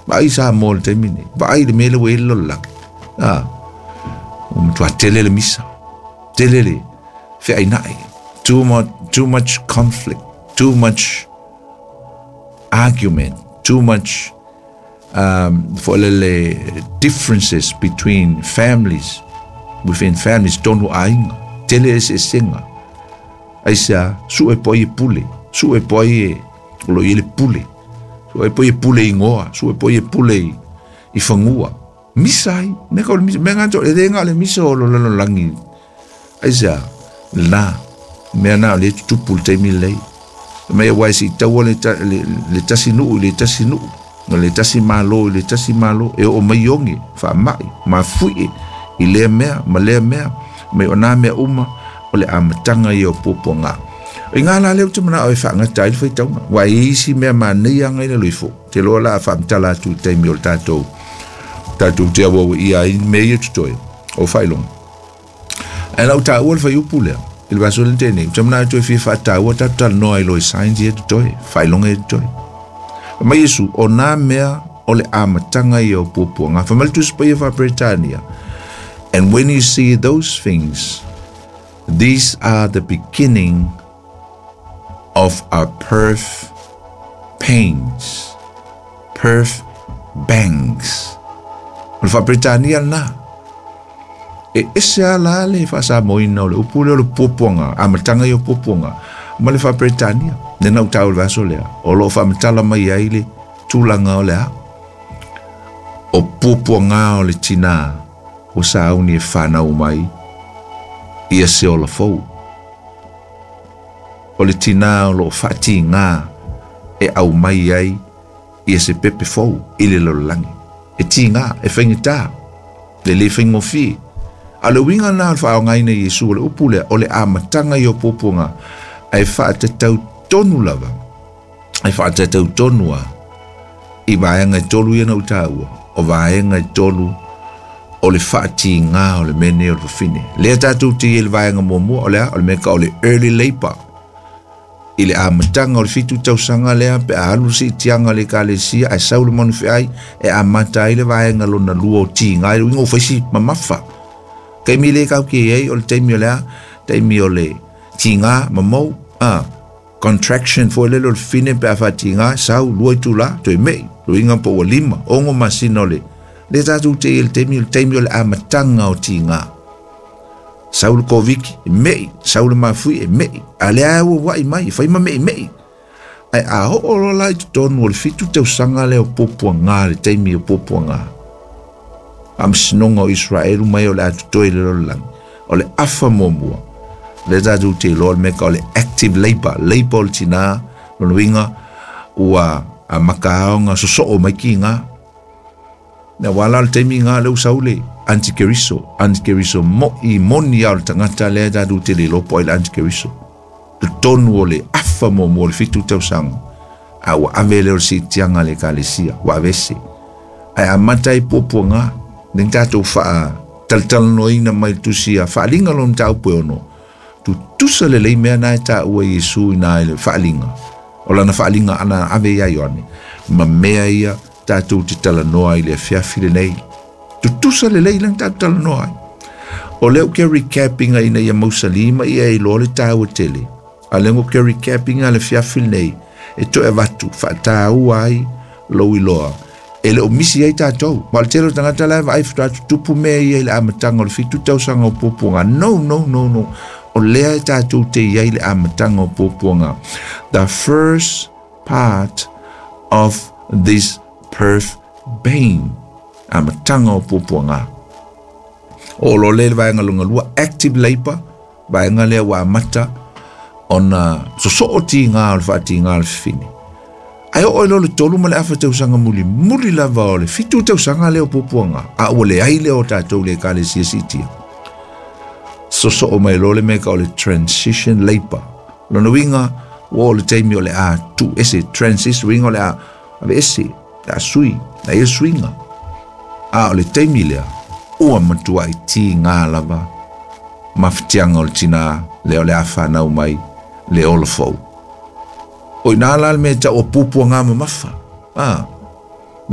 Vaai Samoa i le taimi lenei. Vaai i le mea lea ua i ai le lalolagi. A, ua matua tele le misa, tele le feainai. Too much, too much conflict, too much argument, too much foi lele differences between families, within families, tonu aiga, tele eseesega. Aisea? Sue po ai e pule, sue po ai e o lo o i ai le pule, sue po ai e pule igoa, sue po ai e pule i, i fagua. Misa ai, mea ka o le misa, mea ngā e le ngā o le misa o lo lalolagi. Aisea? Lena, mea na o le tutupu le taimi lelei. Mai aua e siitaua le, le, le tasi nuu i le tasi nuu, no le tasi malo i le tasi malo, e oo mai oge, faamai, mafuie, i lea mea ma lea mea, mai o nā mea uma, o le amataga ia o puapuaga. O i ngā la lea ou te manao e faagata ai le faitauga, aua e i ai isi mea manaia aga i lalo ifo, te loa la a faamatala atu i le taimi o le tatou, tatou te auauia ai mea ia totoe, o faailoga. Ae na ou taua le fuaiupu lea, i le vaiaso lea na tea nei, ou te manao e toe fia faataua tatou talanoa ai loa i signs ia totoe, faailoga ia totoe. Fai mai Iesu, o nā mea o le amataga ia o puapuaga. Fai mai le Tusi Paia Faa-Peretania, And when you see those things, these are the beginning of our birth pains. Birth bangs. O le Faa-Peretania lena. E ese lava la le faasamoaina o le upu lea o le puapuaga, amataga ia o puapuaga, ma le Faa-Peretania. Lea na ou taua i le vaiaso lea, o lo o faamatala mai ai le tulaga o le a? O puapuaga o le tinā ua sauni e fanau mai ia se ola fou. O le tinā o lo o faatigā e aumai ai ia se pepe fou i le lalolagi. E tigā, e faigata, e le faigofie. A o le uiga lena o le faaaogaina e Iesu o le upu lea, o le amataga ia o puapuaga, ae faatatau tonu lava, e faatatau tonu lava i vaega e tolu ia na ou taua, o vaega e tolu o le faatigā o le mea nei o le fafine. Lea tatou te i ai i le vaega muamua, o le a? O le mea tau o le early labour. I le amataga o le 7 tausaga lea pe a alu le siitiaga a le Ekalesia ae sau le manufeai e amata ai le vaega lona lua o tiga, i le uiga ua fai si mamafa. Taimi le kau ke ai o le taimi o le a? Taimi o le tiga mamou, a contraction foi lele o le fine pe a faatiga, sau lua itula, toe mei, le uiga po ua 5, 6 masina o le le tatou te i le taimi, o le taimi o le amataga o tiga. Sau le Koviki, e me'i, sau le mafui, e me'i. A lea ua ua'i mai, e fai ma me'ime'i. Ae a oo loa la i totonu o le 7 tausaga lea o puapuaga, le taimi o puapuaga, faamasinoga o Iseraelu mai o le a totoe i le lalolagi, o le afa muamua, lea tatou te iloa le mea tau o le active labour, labour o le tinā, lona uiga, ua amata ona sosoo mai tiga. Aua la o le taimi lena lea ua sau le antikeriso, antikeriso mo'i moni lava o le tagata lea tatou te le iloa po o ai le antikeriso. Totonu o le afa muamua o le 7 tausaga, a ua ave lea o le siitiaga a le Ekalesia, ua aveese. Ae amata ai puapuaga, lea na tatou faatalatalanoaina mai le tusi a Faaaliga lona mataupu e 6, tutusa lelei mea na e taua e Iesu i ina i le Faaaliga, o lana Faaaliga ana ave ia Ioane, ma mea ia tatou te talanoa ai i le afiafi lenei. Tutusa lelei lea na tatou talanoa ai. O lea ou ke recapinga ina ia mausali ma ia iloa le taua tele. A lea ou ke recapinga le afiafi lenei e toe avatu faataua ai lou iloa. E le o misi ai tatou. Ma o le tele o tagata la e vaai faatoa tutupu mea ia i le amataga o le 7 tausaga o puapuaga. No, no, no, no. O lea e tatou te i ai i le amataga o puapuaga. The first part of this birth pain. Amataga o puapuaga. O lo le vaega lona lua, active labour, vaega lea ua amata ona sosoo tiga o le faatiga o le fafine. Ae oo i loa le 3 ma le afa tausaga muli, muli lava o le 7 tausaga lea o puapuaga, a ua leai lea o tatou le Ekalesia siitia. Sosoo mai loa le mea tau o le transition labour. Lona uiga, ua oo le taimi o le a tuu ese, transition, uiga o le a aveese, le a sui, le a ia suiga. A o le taimi lea, ua matuai tiga lava mafatiaga o le tinā lea o le a fanau mai le ola fou. O i ina la le mea e tau o puapuaga mamafa. A,